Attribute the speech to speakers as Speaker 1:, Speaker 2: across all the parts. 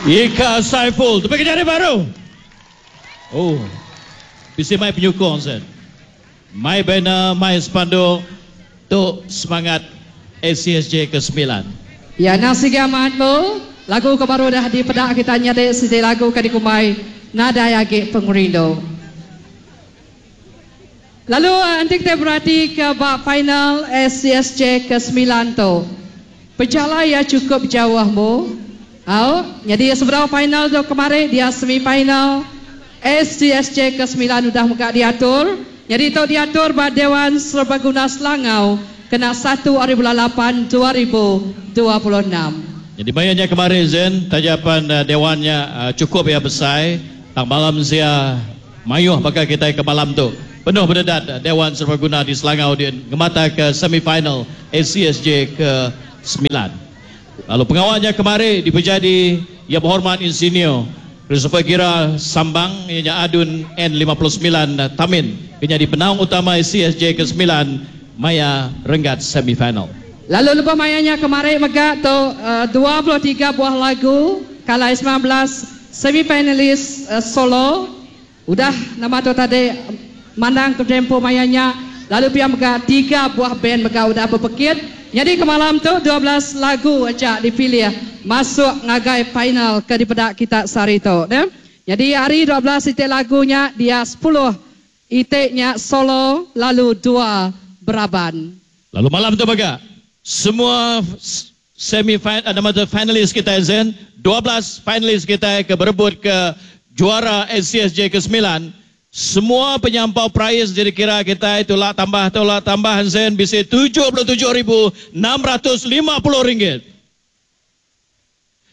Speaker 1: Ika Saiful. Tepik jari baru. Oh. Bisi mai penyukung sen. Mai banner, mai spanduk. Tu semangat ACSJ ke 9.
Speaker 2: Ya nang sigi amat mu, lagu ke baru dah dipeda kita nyadi siti lagu ke dikumbai Nadai Agi Pengerindu. Lalu enti kitai berati ke ba final ACSJ ke semilan tu, pejalai iya chukup jauh mu. Au, nyadi sebedau final tu kemari dia semi final ACSJ ke semilan udah mega diatur. Nyadi tu diatur ba Dewan Serbaguna Selangau kena satu ari bulan lapan 2026.
Speaker 1: Nyadi maya nya kemari Zen, taja pan dewan nya chukup iya besai tang bala mensia mayuh baka kitai ke malam tu. Penuh bededat Dewan Serbaguna di Selangau din ngemataka semi final ACSJ ke semilan. Lalu pengawa nya kemari dipejadi Yang Berhormat Insinyur Christopher Gira Sambang iya nya ADUN N 59 Tamin ke nyadi penaung utama CSJ ke semilan maya renggat semi final.
Speaker 2: Lalu lebuh maya nya kemari mega tu 23 buah lagu kalai 19 semi finalis solo udah nama tu tadi mandang ke tempo maya nya lalu pia mega tiga buah band mega udah bepekit. Nyadi ke malam tu 12 lagu aja dipilih masuk ngagai final ke dipeda kita sehari tu neh. Nyadi ari 12 iti lagu nya dia 10 iti nya solo lalu dua beraban.
Speaker 1: Lalu malam tu mega semua semi nama tu finalis kitai Zen, 12 finalis kitai ke berebut ke juara ACSJ ke semilan, semua penyampau prais dikira kitai tulak tambah tulak tambah Zen bisi 77,650 ringgit.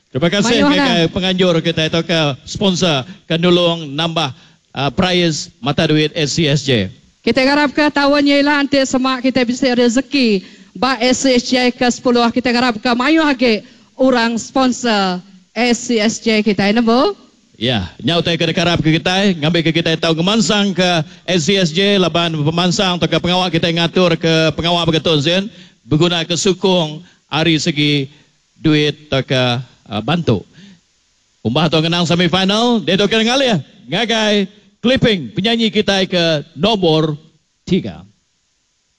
Speaker 1: Terima kasih ngagai penganjur kitai atau ke sponsor ke nulung nambah prais mata duit ACSJ.
Speaker 2: Kita ngarap ke taun nya ila enti sema kita bisi rezeki ba ACSJ ke 10 kita ngarap ke mayuh agi orang sponsor ACSJ kitai nembu.
Speaker 1: Ya, nya utai ke dikarap ke kitai ngambi ke kitai tau ngemansang ke ACSJ laban pemansang atau ke pengawa kitai ngatur ke pengawa begitu Zen beguna ke sukung ari segi duit atau ke bantu. Umbah tu ngenang semi final, dia tu kena ngalih ngagai clipping penyanyi kitai ke nombor 3.